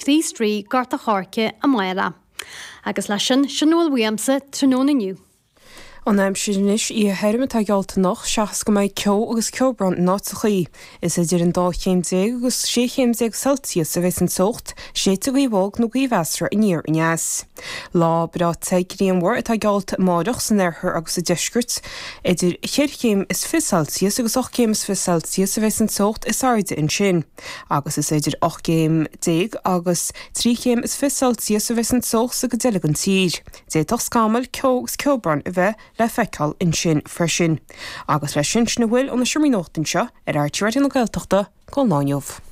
Chríost Rí, Gort a' Choirce, amárach. Agus leis sin, sin a bhfuil uaimse tráthnóna inniu. An aimsir anois, oíche thirim atá geallta anocht seachas go mbeidh ceo agus ceobhrán in áiteachaí. Is idir an dá chéim déag agus sé chéim déag Celsius a bheas an teocht, séidfidh gaoth bhog nó gaoth mheasartha aniar aneas. Lá breá te grianmhar atá geallta amáireach san oirthear agus sa deisceart. Idir cheithre chéim is fiche Celsius agus 18 céim is 20 Celsius a bheas an teocht is airde ansin. Agus is idir 18 gcéim agus 3 chéim is 20 Celsius a bheas an teocht sa gcuid eile den tír. D'fhéadfadh scamaill, ceo agus ceobhrán a bheith le feiceáil ansin freisin. Agus leis sin, sin a bhfuil ó na seomraí nuachta anseo ar RTÉ Raidió na Gaeltachta don lá inniu.